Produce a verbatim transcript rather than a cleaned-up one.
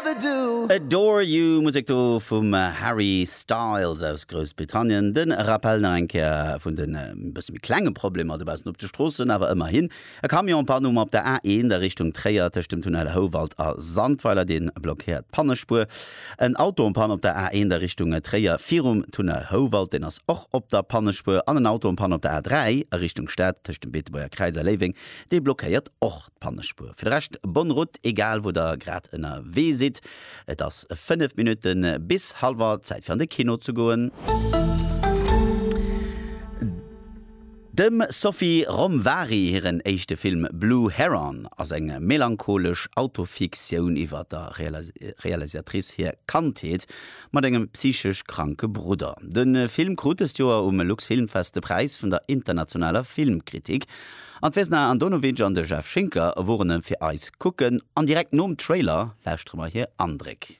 ever do. Adore You, Musek do vum Harry Styles aus Groussbritannien. De Rappel nach eng Kéier vun den e bësse méi klenge Problemer dobaussen op de Stroossen, awer ëmmerhin. E Camion en panne um op der A eent a Richtung Tréier tëscht dem Tunnel Houwald a Sandweiler, dee blockéiert d'Pannespuer. En Auto en panne op der A eent a Richtung Tréier virum Tunnel Houwald, deen ass och op der Pannespuer. An en Auto en panne op der A dräi a Richtung Stad tëscht dem Beetebuerger Kräiz a Léiweng, dee blockéiert och d'Pannespuer. Fir de Rescht, bonne route, egal wou der grad ënnerwee sidd. Et ass fënnef Minutte bis hallwer, Zäit fir an de Kino ze goen. Dem Sophie Romvari hiren éischte Film Blue Heron ass eng melancholesch Autofiktioun iwwer der Realisatrice hir Kandheet mat engem psychesch kranke Brudder. De Film krut dëst Joer um Luxfilmfest de Präis vun der internationaler Filmkritik. An d'Vesna Andonovic an de Jeff Schinker woren e fir eis kucken an direkt nom Trailer lauschtere mer hir Andréck.